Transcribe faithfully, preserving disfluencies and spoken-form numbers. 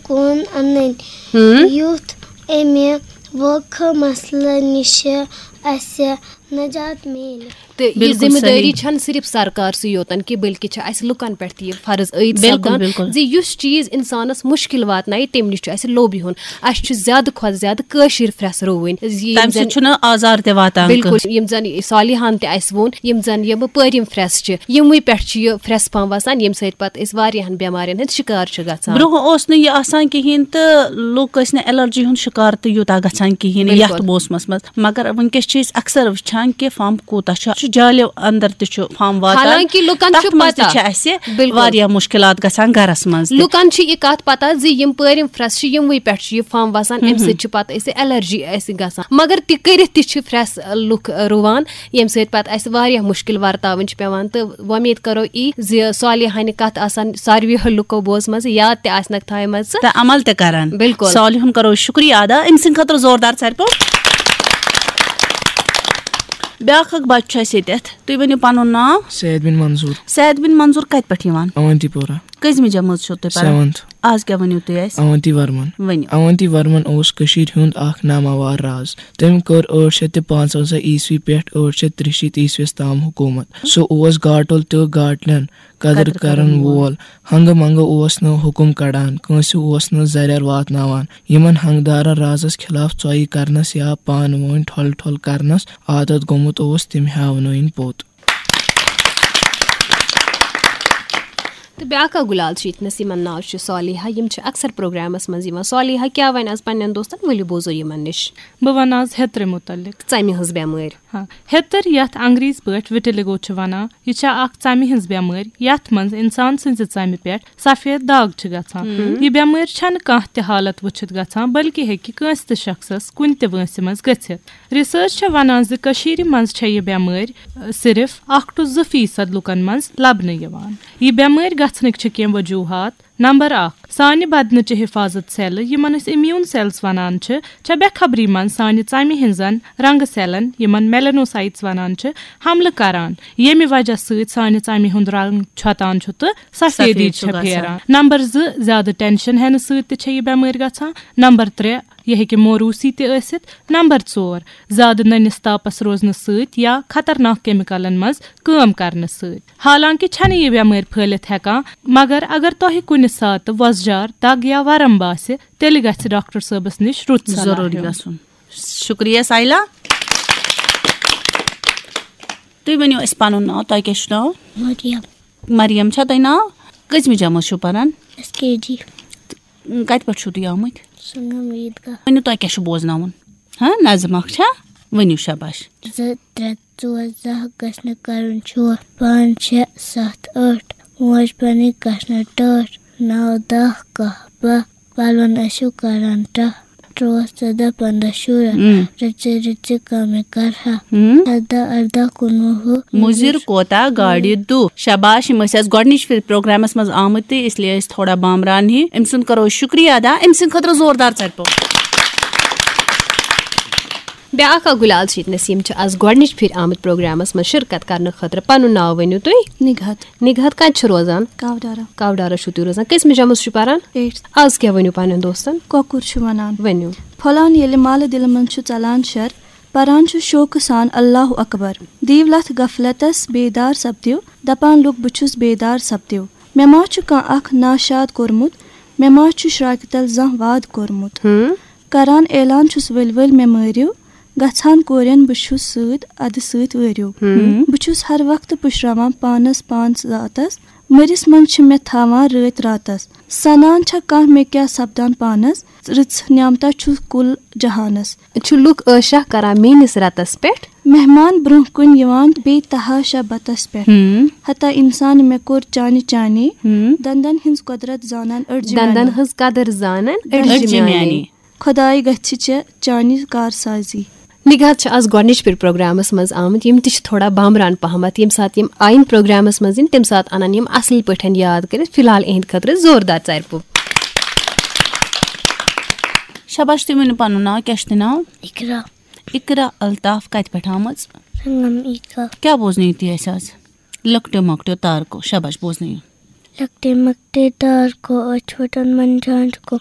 کُن اَنٕنۍ، ہم۔ یُتھ اَمہِ ووکھٕ مسلہٕ نِشہِ اَسہِ نجات میلہِ۔ تہٕ یہِ بِلکُل ذِمہٕ دٲری صحیح۔ چھَنہٕ صرف سرکار سٕے یوتن کہِ، بلکہِ چھِ اَسہِ لُکن پٮ۪ٹھ تہِ یہِ فرض عٲید بِلکُل، سپدان بِلکُل۔ زِ یُس چیٖز اِنسانَس مُشکِل واتنایہِ، تَمہِ نِش چھُ اَسہِ لوٚب یِہُن۔ اَسہِ چھُ زیادٕ کھۄتہٕ زیادٕ کٲشِر پھرٛٮ۪س رُوٕنۍ۔ زِ یِم تَمہِ سۭتۍ زَن چھُنہٕ آزار تہِ واتان بِلکُل، کٲنٛسہِ۔ یِم زَن صالحان تہِ اَسہِ ووٚن، یِم زَن یِم پٲرِم پھرٛٮ۪س چھِ، یِموٕے پٮ۪ٹھ چھِ یہِ پھرٛٮ۪س پھَمب وَسان، ییٚمہِ سۭتۍ پَتہٕ أسۍ واریاہَن بٮ۪مارٮ۪ن ہٕنٛدۍ شِکار چھِ گژھان۔ برٛونٛہہ اوس نہٕ یہِ آسان کِہیٖنۍ تہٕ لُکھ ٲسۍ نہٕ الرجی ہُنٛد شِکار تہِ یوٗتاہ گژھان کِہیٖنۍ بِلکُل۔ یَتھ موسمَس منٛز۔ مگر وٕنکیٚس چھِ أسۍ اکثر وٕچھان کہِ پھَمب کوٗتاہ چھُ، چھُ جالہِ اندر تہِ چھُ پھَمب واتان۔ حالانکہِ لُکن چھُ تَتھ منٛز تہِ پتہ۔ چھِ اَسہِ بِلکُل۔ واریاہ مُشکِلات گژھان گرس منٛز تہِ۔ لُکن چھِ یہِ کَتھ پَتہ زِ یِم پٲرِم پھرٛٮ۪س چھِ، یِموٕے پٮ۪ٹھ چھِ یہِ پھَمب وَسان، اَمہِ ہم۔ سۭتۍ چھِ پَتہٕ اَسہِ الرجی اَسہِ گژھان۔ مگر تہِ کٔرِتھ تہِ چھِ پھرٛٮ۪س لُکھ رُوان، ییٚمہِ سۭتۍ پَتہٕ اَسہِ واریاہ مُشکِل ورتاوٕنۍ چھِ پٮ۪وان۔ تہٕ وۄمید کَرو یی زِ صالحانہِ کَتھ آسَن ساروِیو لُکو بوزمَژٕ، یاد تہِ آسنَکھ تھایمَژٕ۔ تہٕ عمل تہِ کران۔ بِلکُل۔ صالحُن کرو شُکریہ ادا، أمۍ سٕنٛدِ خٲطرٕ زوردار ژَرِ پوٚپ۔ بیٛاکھ اکھ بَچہٕ چھُ اَسہِ ییٚتٮ۪تھ، تُہۍ ؤنِو پَنُن ناو۔ سید بن منظور۔ سید بن منظور کَتہِ پٮ۪ٹھ یِوان؟ اونتی پورہ۔ کٔژمہِ جمٲژ چھِو تُہۍ پَران؟ Seventh۔ آز کیٛاہ ؤنِو تُہۍ اَسہِ؟ اونتی ورمن۔ ؤنِو۔ اونتی ورمن اوس کٔشیٖرِ ہُنٛد اکھ ناماوار راز۔ تٔمۍ کٔر ٲٹھ شیٚتھ تہٕ پانٛژوَنزاہ عیسوی پٮ۪ٹھ ٲٹھ شیٚتھ تہٕ ترٛیہِ شیٖتھ عیسویس تام حکوٗمت۔ سُہ اوس گاٹُل تہٕ گاٹلٮ۪ن قدٕر قدٕر کرن کرن وول۔ وول۔ ہنگہٕ منگہٕ اوس نہٕ حُکُم کڑان، کٲنٛسہِ اوس نہٕ زرٮ۪ر واتناوان۔ یِمن ہنگدارن رازس خلاف ژۄیہِ کرنس یا پانہٕ وٲنۍ ٹھۄل ٹھۄل کرنس عادت گوٚمُت اوس، تِم ہیاونٲوِن پوٚت۔ تہٕ بیٛاکھ اکھ گُلال چھِ ییٚتنَس، یِمن ناو چھُ صالحہ۔ یِم چھِ اکثر پروگرامس منٛز یِوان۔ صالحہ کیٛاہ وَنہِ آز پننٮ۪ن دوستن؟ ؤلِو بوزو یِمن نِش۔ بہٕ وَنہٕ آز ہیٚترِ مُتعلِق۔ ژَمہِ ہٕنٛز بٮ۪مٲرۍ۔ ہاں، ہیٚتٕر، یَتھ انگریزی پٲٹھۍ وِٹِلیگو چھِ وَنان، یہِ چھےٚ اکھ ژَمہِ ہٕنٛز بٮ۪مٲرۍ، یَتھ منٛز اِنسان سٕنٛزِ ژَمہِ پٮ۪ٹھ سفید داغ چھِ گژھان۔ ہم۔ یہِ بٮ۪مٲرۍ چھَنہٕ کانٛہہ تہِ حالت وٕچھِتھ گژھان، بلکہِ ہیٚکہِ کٲنٛسہِ تہِ شخصس کُنہِ تہِ وٲنٛسہِ منٛز گٔژھِتھ۔ ریسرچ چھےٚ وَنان زِ کٔشیٖرِ منٛز چھےٚ یہِ بٮ۪مٲرۍ، اَ، صرف اکھ to زٕ فیصد لُکن منٛز لبنہٕ یِوان۔ یہِ بٮ۪مٲرۍ گژھنٕکۍ چھِ کینٛہہ وجوٗہات۔ نمبر اکھ، سانہِ بدنٕچہِ حفاظت سیلہٕ، یِمن أسۍ امیوٗن سیلز ونان چھِ، چھےٚ بے خبری منٛز سانہِ ژمہِ ہٕنٛزن رنگہٕ سیلن، یِمن میلانوسائٹس ونان چھِ، حملہٕ کران، ییٚمہِ وجہ سۭتۍ سانہِ ژمہِ ہُنٛد رنگ چھۄتان چھُ تہٕ سفیدی سفید چھُ چھےٚ گژھان۔ پھیران۔ نمبر زٕ، زیادٕ ٹینشن ہٮ۪نہٕ سۭتۍ تہِ چھےٚ یہِ بٮ۪مٲرۍ گژھان۔ نمبر ترٛےٚ، یہِ ہیٚکہِ موروثی تہِ ٲسِتھ۔ نمبر ژور، زیادٕ نٔنِس تاپس روزنہٕ سۭتۍ یا خطرناک کیمیکلن منٛز کٲم کرنہٕ سۭتۍ۔ حالانکہِ چھنہٕ یہِ بٮ۪مٲرۍ پھٔہلِتھ ہٮ۪کان، مگر اگر تۄہہِ کُنہِ ساتہٕ وۄزجار، دگ یا ورم باسہِ، تیٚلہِ گژھِ ڈاکٹر صٲبس نِش رُت صلاح ضروٗری ہیوٚن۔ گژھُن۔ شُکریہ سایلا۔ تُہۍ ؤنِو اَسہِ پنُن ناو، تۄہہِ کیٛاہ چھُ ناو؟ مریم۔ مریم چھا تۄہہِ ناو؟ کٔژمہِ جمٲژ چھِو پران؟ ایس کے جی۔ کتہِ پٮ۪ٹھ چھِو تُہۍ آمٕتۍ؟ سنگم عیدگاہ۔ ؤنِو، تۄہہِ کیٛاہ چھُ بوزناوُن؟ ہاں، نظم اکھ چھا؟ ؤنِو، شاباش۔ زٕ، ترٛےٚ، ژور، زٕ ہا گژھِ نہٕ کرُن چھُ۔ پانٛژھ، شےٚ، ستھ، ٲٹھ، موج پنٕنۍ گژھِ نہٕ ٹٲٹھ۔ نو، دہ، کاہ، باہ، پلون ٲسِو کران ٹاہ۔ ترٛوہ، ژۄدہ، پنٛداہ، شُراہ، اۭں۔ رٕژِ رٕژِ کامہِ کرہا۔ اۭں۔ سدہ، اردہ، کُنوُہ۔ مُضِر کوتاہ گاڑِ دُہ۔ شاباش، یِم ٲسۍ اَسہِ گۄڈٕنِچ پھِرِ پروگرامس منٛز آمٕتۍ تہٕ اس لیے ٲسۍ تھوڑا بامبران ہی۔ أمۍ سُنٛد کرو شُکریہ ادا، أمۍ سٕنٛدِ خٲطرٕ زوردار ژَرِ پوٚپ۔ بیٛاکھ اکھ گُلال چھِ ییٚتہِ نسیٖم چھِ آز گۄڈٕنِچ پھِرِ آمٕتۍ پروگرامس منٛز شرکت کرنہٕ خٲطرٕ۔ پنُن ناو ؤنِو تُہۍ؟ نگہت۔ نگہت کتہِ چھِ روزان؟ کاوڈارا۔ کاوڈارا چھِو تُہۍ روزان۔ کٔژمہِ جمٲژ چھِو پران؟ Eighth۔ آز کیٛاہ ؤنِو پننٮ۪ن دوستن؟ کۄکُر چھُ ونان۔ ؤنِو۔ پھۄلان ییٚلہِ مالہٕ دِلہٕ منٛز چھُ ژلان شر، پران چھُ شوقہٕ سان اللہ اکبر۔ دِیِو لتھ غفلتس بیدار سپدِو، دپان لُکھ بہٕ چھُس بیدار سپدِو۔ مےٚ ما چھُ کانٛہہ اکھ ناشاد کوٚرمُت، مےٚ ما چھُ شراکہِ تل زانٛہہ وعدٕ کوٚرمُت۔ ہم۔ کران اعلان چھُس ؤلۍ ؤلۍ مےٚ مٲرِو، گژھان کورٮ۪ن بہٕ چھُس سۭتۍ ادٕ سۭتۍ وٲرِو۔ ہم۔ بہٕ چھُس ہر وقتہٕ پُشراوان پانس پانس ذاتس، مٔرِس منٛز چھِ مےٚ تھاوان رٲتۍ راتس۔ سنان چھا کانٛہہ مےٚ کیٛاہ سپدان پانس، رٕژ نعمتا چھُ کُل جہانس۔ چھُ لُکھ عٲشہ کران میٲنِس رتس پٮ۪ٹھ۔ مہمان برونٛہہ کُن یِوان بے تحاشا بتس پٮ۪ٹھ۔ ہم۔ ہتا انسان مےٚ کوٚر چانہِ چانے، ہم۔ دندن ہٕنٛز قۄدرت زانان أڈجہِ دندن میانے۔ ہٕنٛز قدر زانان أڈجہِ أڈجہِ میانے۔ میانے۔ خۄداے گژھِ ژےٚ چانہِ کارسازی۔ نگہت چھِ آز گۄڈٕنِچ پھِرِ پروگرامس منٛز آمٕتۍ، یِم تہِ چھِ تھوڑا بامبران پہمتھ۔ ییٚمہِ ساتہٕ یِم آیِن پروگرامس منٛز یِن، تَمہِ ساتہٕ اَنَن یِم اَصٕل پٲٹھۍ یاد کٔرِتھ۔ فی الحال اِہِنٛدِ خٲطرٕ زوردار ژَرِ پوٚپ۔ شاباش، تُہۍ ؤنِو پَنُن ناو، کیٛاہ چھُ تۄہہِ ناو؟ اقرا۔ اقرا الطاف، کَتہِ پٮ۪ٹھ آمٕژ؟ سنگم عیدگاہ۔ کیٛاہ بوزنٲیِو تُہۍ اَسہِ آز؟ لۄکٹیو مۄکٹیو تارکو، شاباش، بوزنٲیِو۔ لۄکٹے مۄکٹے تارکو، أچھ پھٹن منجان چھُکو،